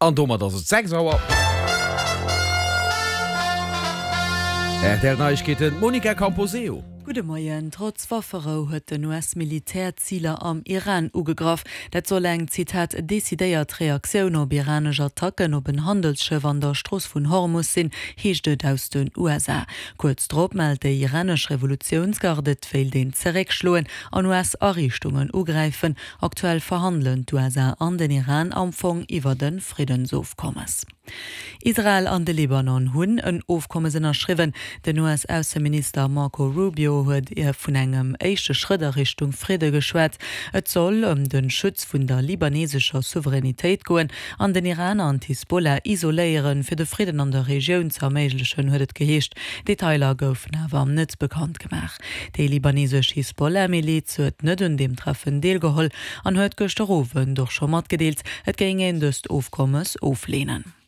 An domat ass et 6 Auer. Rtl Neiegkeeten, d'Monica Camposeo. Gudde Moien. Trotz Wafferou huet den US-Militär Ziler am Iran ugegraff. Dat soll eng, Zitat, decidéiert Reaktioun op iranesch Attacken op en Handelsschëff an der Strooss vun Hormus sinn, heescht et aus den USA. Kuerz drop mellt déi iranesch Revolutiounsgarde, et wéilt een zeréckschloen an US-Ariichtungen ugräifen. Aktuell verhandelen d'USA an den Iran am Fong iwwert e Friddensofkommes. Israel an de Libanon hunn en Ofkommes ënnerschriwwen. Den US-Ausseminister Marco Rubio huet vun engem éischte Schrëtt a Richtung Fridde geschwat. Et soll ëm de Schutz vun der libanesescher Souveränitéit goen an den Iran an d'Hisbollah isoléieren, fir de Fridden an der Regioun ze erméiglechen, huet et geheescht. Detailer goufen awer net bekannt gemaach. Déi libanesesch Hisbollah-Miliz huet net un deem Treffen deelgeholl an huet gëschter Owend och scho matgedeelt, et géing een dëst Ofkommes ofleenen.